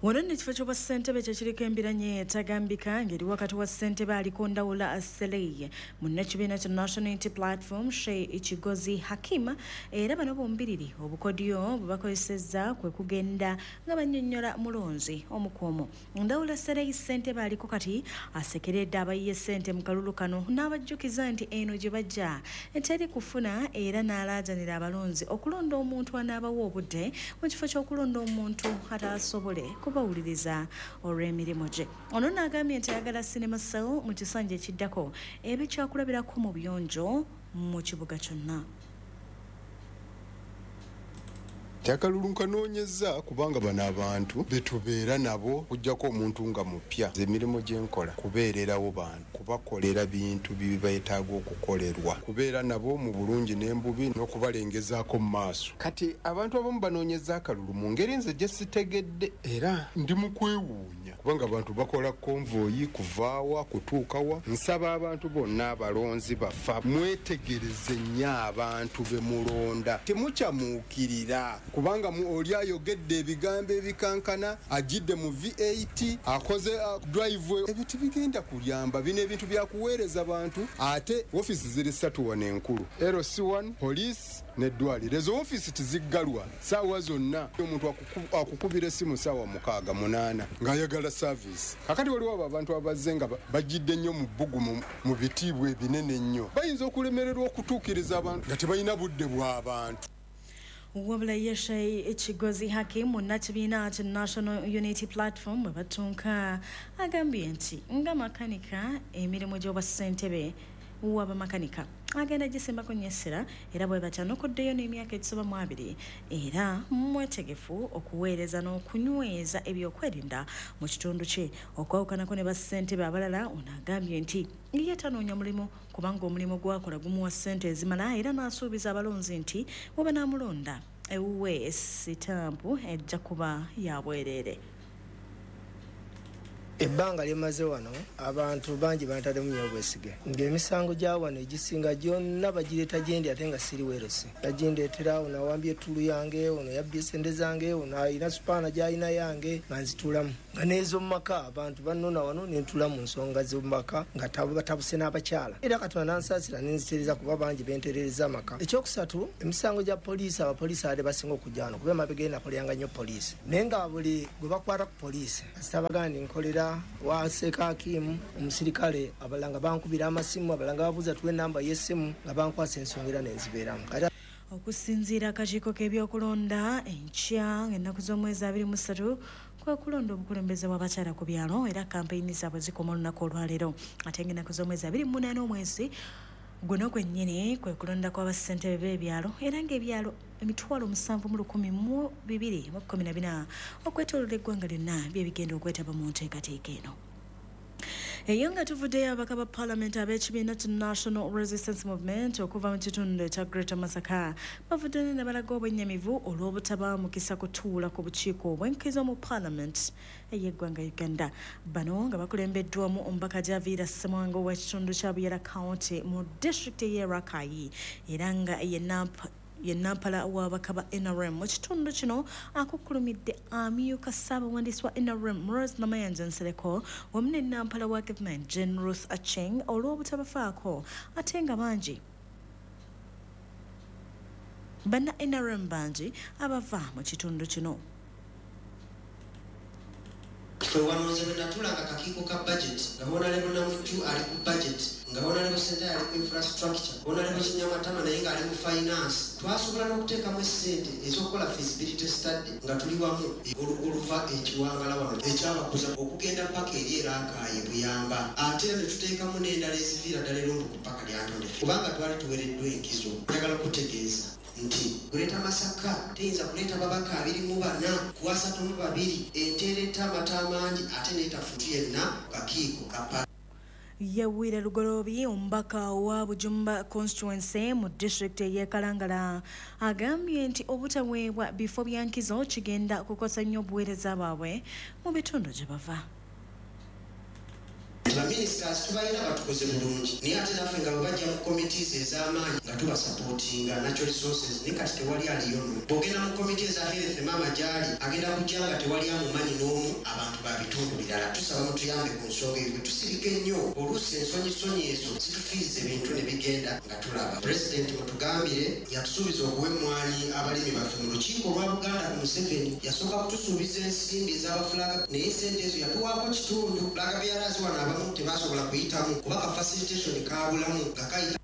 wano nno ekifo ky'obwassentebe kyekiriko embiranye etagambika ng'eri wakati wa ssentebe aliko Ndawula Selei munnakibiina kya National Unity Platform Sheikh Kigozi Hakim, era bano bombiriri obukodyo bwe bakozesezza kwe kugenda nga bannyonnyola mulonzi omukuomu. Ndawula Selei ssentebe aliko kati asekeredde abayiye ssente mu kalulu kano n'abajjukiza nti eno gye bajja teri kufuna, era n'alaajanira abalonzi okulonda omuntu anaabawa obudde mu kifo ky'okulonda omuntu ataasobole kubawuliriza olw'emirimu gye. Ono n'agambye nti ayagala Cinema Cell mu kisanja ekiddako ebe kyakulabirako mu buyonjo mu kibuga kyonna. Akalulu nkanoonyezza kubanga bano abantu betubeera nabo, kujjako omuntu nga mupya. Emirimu gye nkola kubeererawo bantu, kubakolera bintu bibeetaaga okukolerwa, kubeera nabo mu bulungi n'embubi n'okubalengezaako mu maaso. Kati abantu abamu banoonyeza akalulu mu ngeri nze gye sitegedde, era ndi mu kwewuunya kubanga abantu bakola konvoyi kuvaawa kutuukawa. Nsaba abantu bonna abalonzi bafa mwetegereze nnyo abantu be mulonda, temukyamuukirira kubanga oli ayogedde ebigambo ebikankana, ajjidde mu V8, akoze drive, ebyo tebigenda kuyamba. Bino ebintu byakuweereza bantu. Ate ofiisi ziri 3 wano enkulu, LC1, poliisi n'eddwaliro. Ezo ofiisi tiziggalwa saawa zonna, omuntu akukubira essimu saawa 6 8 ng'ayagala service. Kakati waliwo abo abantu abazze nga bajjidde nnyo mu bbugumu mu bitiibwa ebinene ennyo, bayinza okulemererwa okutuukiriza abantu nga tebalina budde bw'abantu. Wabula ye Sheikh Kigozi Hakim munnakibiina kya National Unity Platform bwe batunka agambye nti nga makanika emirimu gy'obwassentebe w'abamakanika agenda gisimbako nnyo essira, era bwe batanokoddeyo n'emyaka egisoba mu 2, era mwetegefu okuweereza n'okunyweza ebyokwerinda mu kitundu kye. Okwawukanako ne bassentebe abalala, ono agambye nti ye tanoonya mulimu kubanga omulimu gwakola gumuwa ssente ezimala, era n'asuubiza abalonzi nti bwe banaamulonda ewuwe sitampu ejja kuba ya bwereere. Ebbanga lyemaze wano abantu bangi bantaddemu nnyo obwesige ng'emisango gya wano egisinga gyonna bagireeta gyendi ate nga siri werose. Bagindeetera ono awambye ettulu yange, ono yabbye sente zange, ono alina supaana gy'alina yange nga nzituulamu. Nga n'ez'omu maka abantu bannona wano ne ntuula mu nsonga z'omu maka nga batabuse n'abakyala. Era Katonda n'ansaasira ne nzitereeza kuba bangi benterereza amaka. Ekyokusatu, emisango gya poliisi, abapoliisi abadde basinga okujja wano kuba emabega eri nakoleranga nnyo poliisi. Naye nga buli gwe bakwata ku poliisi kasita bagamba nti nkolera wa Seeka Hakimu omusirikale, abalala nga bankubira amasimu, abalala nga babuuza tuwe ennamba y'essimu nga bankwasa ensonga era ne nzibeeramu. Okusinziira akakiiko k'ebyokulonda enkya ng'ennaku z'omwezi 23 kwe kulonda obukulembeze bw'abakyala ku byalo era kampeyini zaabwe zikoma olunaku olwaleero. Ate ng'ennaku z'omwezi 28 omwezi guno gwennyini kwe kulonda kw'abassentebe b'ebyalo era ng'ebyalo 7,214 okwetooloola eggwanga lyonna bye bigenda okwetaba mu nteekateeka eno. Eyo nga tuvuddeyo, ababaka ba paalamenti ab'ekibiina ki National Resistance Movement okuva mu kitundu ekya Greater Masaka bavuddeyo ne balaga obwennyamivu olw'obutaba mukisa kutuula ku bukiiko obw'enkizo mu paalamenti ey'eggwanga Uganda. Bano nga bakulembeddwamu omubaka Javiira Ssemwanga ow'ekitundu kya Buyera County mu disitulikiti ey'e Rakai era nga ye nampala w'ababaka ba NRM mu kitundu kino akukkulumidde amyuka ssaabawandiisi wa NRM Rose Namayanja Nsereko wamu ne nampala wa gavumenti Jane Ruth Acheng olw'obutabafaako ate nga bangi banna NRM bangi abava mu kitundu kino. Ffe wano nze bwe natulanga akakiiko ka budget nga Honorable Namujju ali ku budget, nga Honorable Sentaye ali ku infrastructure, Honorable Kinyamatama naye ng'ali mu finance, twasobola n'okuteekamu essente ez'okukola feasibility study nga tuli wamu oluva ekiwangala wano ekyabakuza okugenda paka eri Eraakaayi Buyamba, ate era ne tuteekamu n'endala eziviira ddala erundu ku ppaka lya Ntonde kubanga twali tuweereddwa enkizo. Njagala okutegeeza nti Greater Masaka teyinza kuleeta babaka 24 ku 32 enteereta amata amangi ate n'etafutu yenna kakiiko kapa. Yewire Lugoloobi omubaka wa Bujumba constituency mu disitulikiti ey'e Kalangala agambye nti obutaweebwa bifo bya nkizo kigenda kukosa nnyo obuweereza bwabwe mu bitundu gye bava. Baminisitasi tubalina batukoze bulungi naye ate naffe nga bwe bajja mu committees ez'amaanyi nga tubasapootinga natural resources, naye kati tewali aliyo no. Bw'ogenda mu committee eza health maama gy'ali agenda kujja nga tewali amumanyi n'omu, abantu ba bitundu birala. Tusaba mutuyambe ku nsonga eyo, bwe tusirika ennyo oluusi ensonyisonyi ezo zitufiiriza ebintu ne bigenda nga tulaba. Pulezidenti mutugambire yatusuubiza okuwa emmwanyi abalimi baffe mu lukiiko olwa Buganda ku Museveni yasooka kutusuubiza ensimbi ez'abafulaga naye sente ezo yatuwaako kitundu. Flag bearers wano abamu tebasobola kuyitamu kuba ka facilitation kaabulamu nga kayita.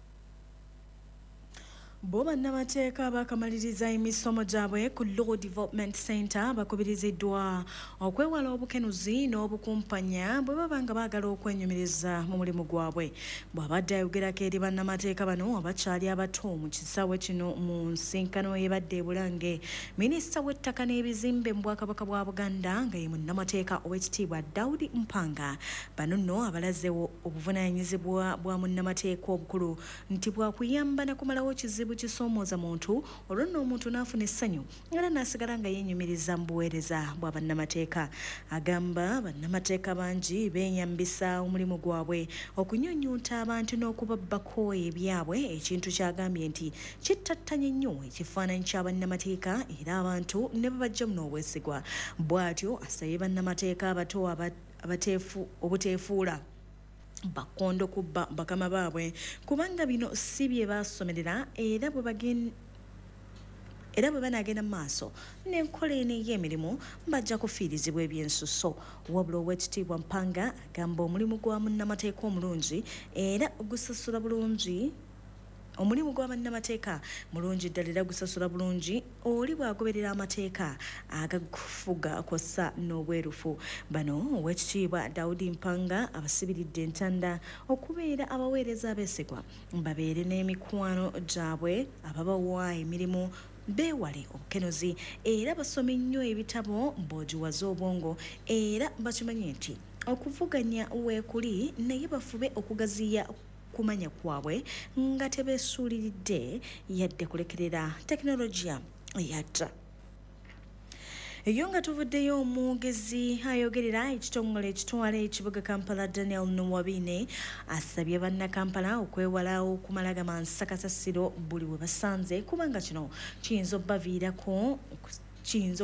Bo bannamateeka bakamaliriza emisomo gyabwe ku Law Development Center bakubiriziddwa okwewala obukenuzi n'obukumpanya bwe baba nga baagala okwenyumiriza mu mulimu gwabwe. Bw'abadde ayogerako eri bannamateeka bano abakyali abato mu kisaawe kino mu nsinkano ebadde e Bulange, minisita w'ettaka n'ebizimbe mu Bwakabaka bwa Buganda nga ye munnamateeka ow'ekitiibwa Daudi Mpanga, bano nno abalazeewo obuvunaanyizibwa bwa munnamateeka obukulu nti bwakuyamba na kumalawo kizibu kisoomooza muntu olwo nno omuntu n'afuna essanyu era n'asigala nga yeenyumiriza mu buweereza bwa bannamateeka. Agamba bannamateeka bangi beeyambisa omulimu gwabwe okunyunyunta abantu n'okubabbako ebyabwe, ekintu ky'agambye nti kittattanye nnyo ekifaananyi kya bannamateeka era abantu ne babajjamu n'obwesigwa. Bw'atyo asabye bannamateeka abato obuteefuula bakondo kubba bakama baabwe kubanga bino si bye baasomerera era bwe banaagenda mu maaso n'enkola eno ey'emirimu bajja kufiirizibwa ebyensusso. Wabula Oweekitiibwa Mpanga agamba omulimu gwa munnamateeka omulungi era gusasula bulungi. Omulimu gwa bannamateeka mulungi ddala era gusasula bulungi oli bw'agoberera amateeka agagufuga kw'ossa n'obwerufu. Bano Oweekitiibwa Daudi Mpanga abasibiridde entanda okubeera abaweereza abeesigwa babeere n'emikwano gyabwe ababawa emirimu, beewale obukenuzi era basome nnyo ebitabo bw'ogiwaza obwongo era bakimanye nti okuvuganya weekuli naye bafube okugaziya kumanya kwabwe nga tebeesuuliridde yadde kulekerera tekinologiya Yatta. Eyo nga tuvuddeyo, omwogezi ayogerera ekitongole ekitwala ekibuga Kampala Daniel Nuwabine asabye bannakampala okwewala okumala gamansa kasasiro buli we basanze, kubanga kino kiyinza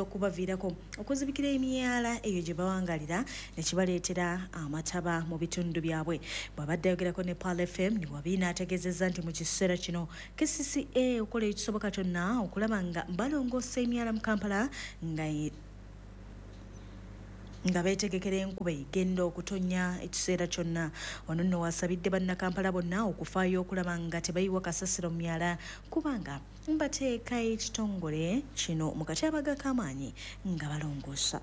okubaviirako okuzibikira emyala eyo gye bawangalira ne kibaleetera amataba mu bitundu byabwe. Bw'abadde ayogerako ne Pearl FM, Nuwabine ategeezezza nti mu kiseera kino KCCA okola ekisoboka kyonna okulaba nga balongoosa emyala mu Kampala nga beetegekera enkuba egenda okutonnya ekiseera kyonna. Ono nno wasabidde bannakampala bonna okufaayo okulaba nga tebayiwa kasasiro mu myala, kubanga mbateeka ekitongole kino mu katyabaga k'amaanyi nga balongoosa.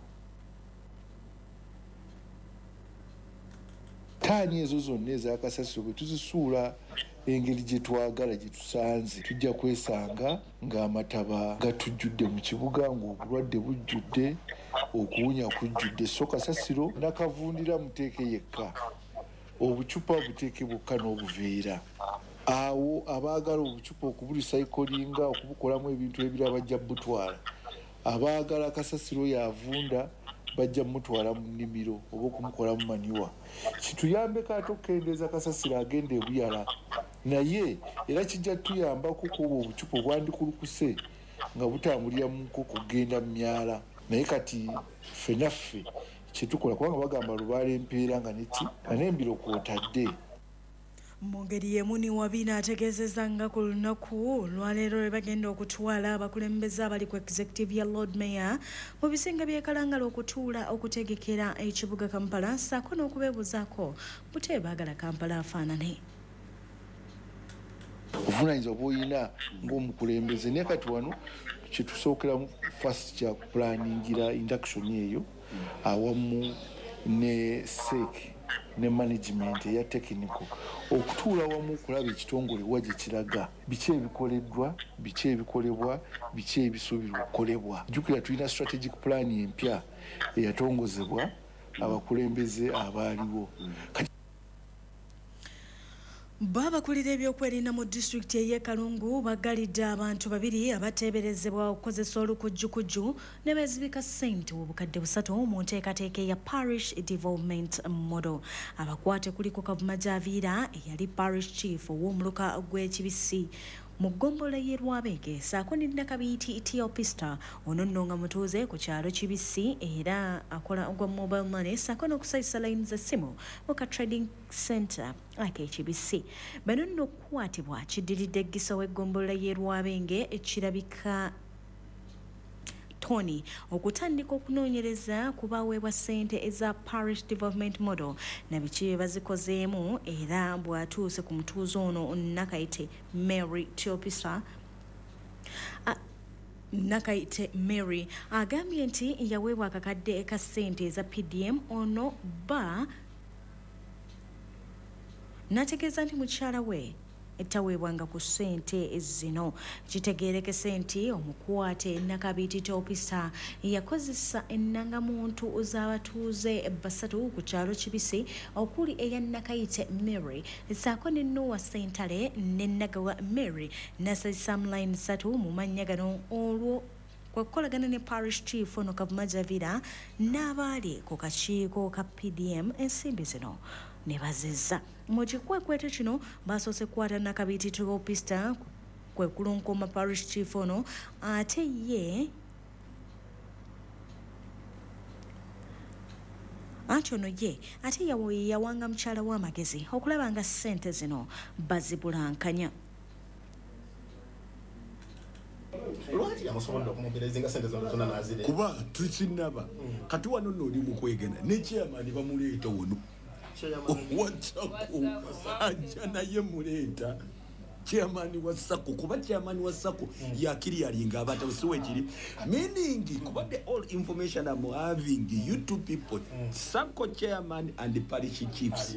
Taani ezo zonna ezakasasiro bwe tuzisuula engeri gye twagala gye tusanze, tujja kwesanga ng'amataba gatujjudde mu kibuga, ng'obulwadde bujjudde, okuwunya kujjudde. So kasasiro nakavundira muteeke yekka, obucupa buteeke bwokka n'obuveera. Awo abaagala obucupa okubulisayikolinga okubukolamu ebintu ebirala bajja butwala, abaagala kasasiro yavunda bajja mutwala mu nnimiro oba okumukolamu maniwa. Kituyambeko ate okukendeeza kasasiro agenda ebuyala, naye era kijja tuyambako kuba obucupa obwandikulukuse nga butambulira mu nkoko kugenda mu myala. Naye kati ffe naffe kyetukola, kubanga bagamba lubaala empeera nga neki nga n'embiro kw'otadde. Mu ngeri y'emu Niwabine ategeezezza nga ku lunaku olwaleero lwe bagenda okutwala abakulembeze abali ku executive ya Lord Mayor mu bisinga by'e Kalangala okutuula okutegekera ekibuga Kampala ssaako n'okubeebuuzaako butya baagala Kampala afaanane. Obuvunaanyizibwa bw'olina ng'omukulembeze, naye kati wano kyetusookeramu first kya kupulaningira induction eyo awamu ne SEC ne management eya technical okutuula wamu okulaba ekitongole wa gye kiraga, biki ebikoleddwa, biki ebikolebwa, biki ebisuubirwa okukolebwa. Jjukira tulina strategic plan empya eyatongozebwa abakulembeze abaaliwo. Babakulira ebyokwerinda mu disitulikiti ey'e Kalungu bagalidde abantu babiri abateeberezebwa okukozesa olukujjukujju ne beezibika ssente 3,000 mu nteekateeka eya Parish Development Model. Abakwate kuliko Kavuma Javiira eyali Parish Chief ow'omuluka gw'Ekibisi mu ggombolola y'e Lwabenge ssaako ne Nakabiiti Teopista, ono nno nga mutuuze ku kyalo Kibisi era akola gwa mobile money ssaako n'okusayisa layini z'essimu mu ka trading center ak'Ekibisi. Bano nno okukwatibwa kiddiridde Gisa w'eggombolola y'e Lwabenge ekirabika Tony okutandika okunoonyereza ku baweebwa ssente eza Parish Development Model na biki bye bazikozeemu, era bw'atuuse ku mutuuze ono Nakayite Mary Teopista Nakayite Mary agambye nti yaweebwa akakadde ka ssente eza PDM ono bba n'ategeeza nti mukyala we taweebwanga ku ssente zino. Kitegeerekese nti omukwate Nakabiiti Teopista yakozesa ennangamuntu z'abatuuze 3 ku kyalo Kibisi okuli eya Nakayite Mary ssaako ne Noah Ssentale ne Nagawa Mary n'asazisaamu layini 3 mu mannya gano, olwo kwe kukolagana ne Parish Chief ono Kavuma Javira n'abaali ku kakiiko ka PDM ensimbi zino ne bazizza. Mu kikwekweto kino basoose kukwata Nakabiiti Teopista kwe kulunkoma Parish Chief ono, ate ye anti ono ye ate yawanga mukyala w'amagezi okulaba nga ssente zino bazibulankanya. Lwaki yamusobodde okumuberezinga ssente zonna zonna n'azireka? Kuba tukinnaba kati wano nno oli mu kwegena ne chairman bamuleeta wano Wachako ajja naye muleeta chairman wa SACCO, kuba chairman wa SACCO yakiri yalinga abata siwekiri, meaning kuba the all information I'm having, you two people, SACCO chairman and the parish chiefs.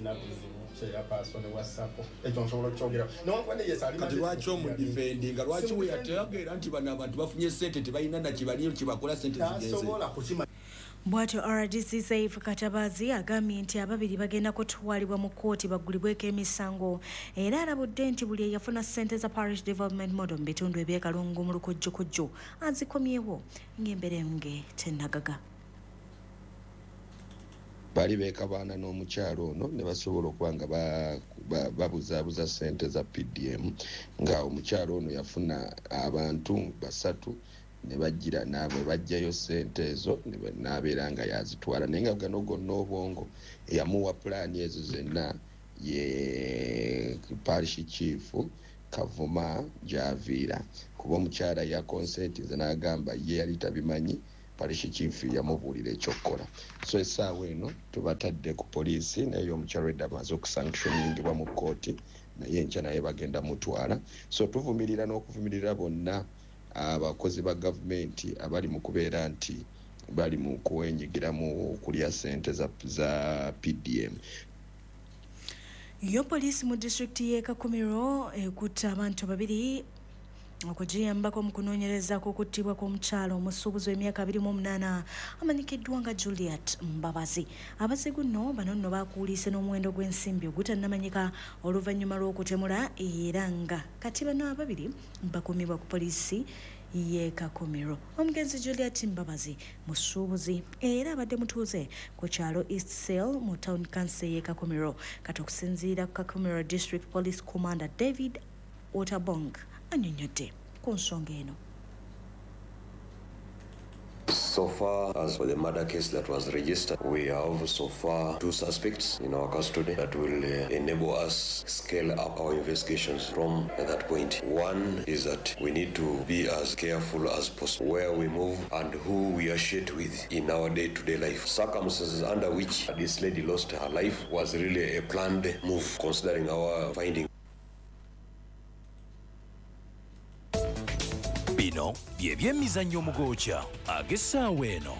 Chairperson wa SACCO. Ekyo nsobola okukyogera newankubadde yes ali. Kati lwaki omudefendinga? Lwaki weyategeera nti bano abantu bafunye sente, tebalina nakibaliyo kyebakola, sente zigenze? Tasobola kukima. Bw'atyo RDC Saif Katabazi agambye nti ababiri bagenda kutwalibwa mu kkooti baggulibweko emisango, era alabudde nti buli eyafuna ssente za Parish Development Model mu bitundu eby'ekalungu mu lukujjukujju azikomyewo ng'emberenge tennagaga. Baali beekabaana n'omukyalo ono ne basobola okuba nga babuzaabuza ssente za PDM, nga omukyalo ono yafuna abantu basatu ne bagira naabwe bajjayo ssente ezo n'abeera nga yazitwala, naye nga gano gonna obwongo eyamuwa pulaani ezo zenna ye parish chief Kavuma gy'aviira, kuba omukyala yakonsentize n'agamba ye yali tabimanyi, parish chief yamubuulira ekyokukola. So essaawa eno tubatadde ku poliisi, naye omukyala edda amaze okusanctioningibwa mu kkooti, naye enkya naye bagenda mutwala. So tuvumirira n'okuvumirira bonna abakozi ba gavumenti abali mu kubeera nti bali mu kwenyigira mu kulya ssente za PDM. Yo poliisi mu disitulikiti y'e Kakumiro ekutte abantu babiri okugiyambako mu kunoonyereza ku kuttibwa kw'omukyala omusuubuzi w'emyaka 28 amanyikiddwa nga Juliet Mbabazi. Abazigu nno bano nno bakuuliise n'omuwendo gw'ensimbi ogutannamanyika oluvannyuma lw'okutemula, era nga kati bano ababiri bakuumibwa ku poliisi y'e Kakumiro. Omugenzi Juliet Mbabazi musuubuzi era abadde mutuuze ku kyalo East Sale mu Town Council y'e Kakumiro. Kati okusinziira ku Kakumiro District Police Commander David Otabong annyonnyodde ku nsonga eno. So far as for the murder case that was registered, we have so far 2 suspects in our custody that will enable us scale up our investigations from that point. One is that we need to be as careful as possible where we move and who we associate with in our day-to-day life. Circumstances under which this lady lost her life was really a planned move considering our finding. Bino bye byemizannyo omugooca ag'essaawa eno.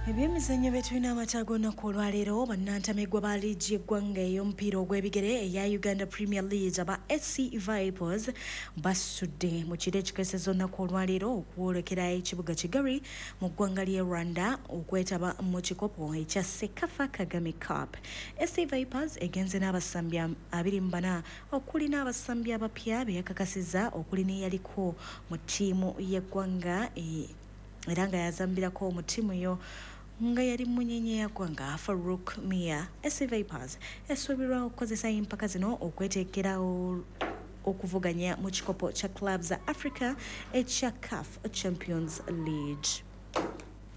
Ebyemizannyo bye tulina amataago olunaku olwaleero, bannantamegwa ba liigi y'eggwanga ey'omupiira ogw'ebigere eya Uganda Premier League aba SC Vipers basudde mu kiro ekikeesezza olunaku olwaleero okwolekera ekibuga Kigali mu ggwanga ly'e Rwanda okwetaba mu kikopo ekya CECAFA Kagame Cup. SC Vipers egenze n'abasambi 24 okuli n'abasambi abapya be yakakasizza okuli n'eyaliko mu ttiimu y'eggwanga era nga yazambirako mu ttiimu yo nga yali munyenye ya ggwanga Farouk Mia. SC Vipers esuubirwa okukozesa empaka zino okweteekera okuvuganya mu kikopo kya Clubs Africa ekya CAF Champions League.